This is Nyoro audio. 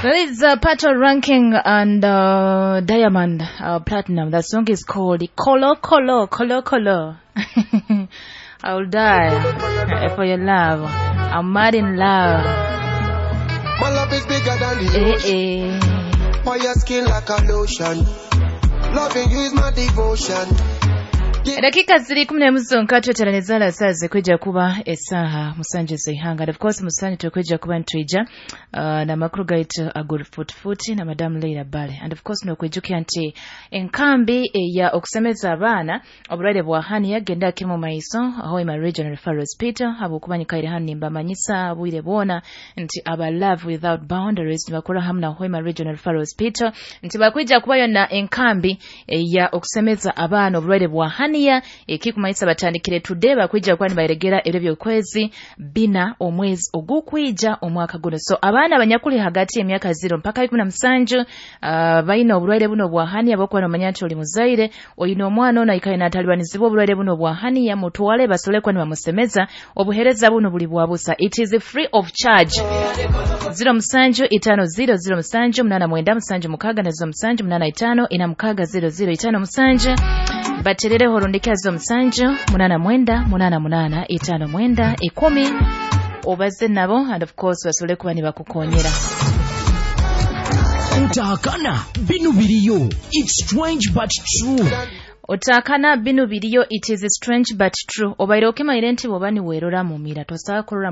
There is Pato Ranking and Diamond Platinum. That song is called Kolo Kolo Kolo Kolo. I'll die for your love. I'm mad in love. My love is bigger than the Eh, ocean. eh. For your skin like a lotion. Loving you is my devotion. Edakika ziri 11 zonka tweteraneza saa zikwija kuba esaaha 7 z'eihanga. And of course 7 tukwija kuba nitwija n'amakuru gaitu ag'orufuutifuuti na Madamu Leila Bale. And of course nokwijukira nti enkambi eya okusemeza abaana oburwaire bwa hernia genda kimu maiso Hoima Regional Referral Hospital, habwokuba nyikaire hanu nimbamanyisa bwire bwona nti aba Love Without Boundaries nibakora hamu na Hoima Regional Referral Hospital, nti bakwija kubayo na enkambi eya okusemeza abaana oburwaire bwa hernia. Ekikumanyisa batandikire today, bakwija kuba nibaregera ebiro by'okwezi 4 omwezi ogukwija omwaka guno. So abaana abanyakuli hagati y'emyaka 0 mpaka 17 baina oburwaire buno bwa hernia, bokuba nomanya nti oli muzaire oyina omwana ono aikaire natalibanizibwa oburwaire buno bwa hernia, mutwale basobole kuba nibamusemeza. Obuhereza buno buli bwa busa, it is free of charge. 07 5 0 0 7 8 9 7 6 na 07 8 5 4 6 0 0 5 7 baterereho rundika 07 8 9 8 8 5 9 10 obaze nabo, and of course basobole kuba nibakukonyera. Utahakana binu biriyo. It's strange but true. Otakana binu biriyo, it is strange but true. Obaire okimaire nti bwoba niwerora mu mira tosobola kurora.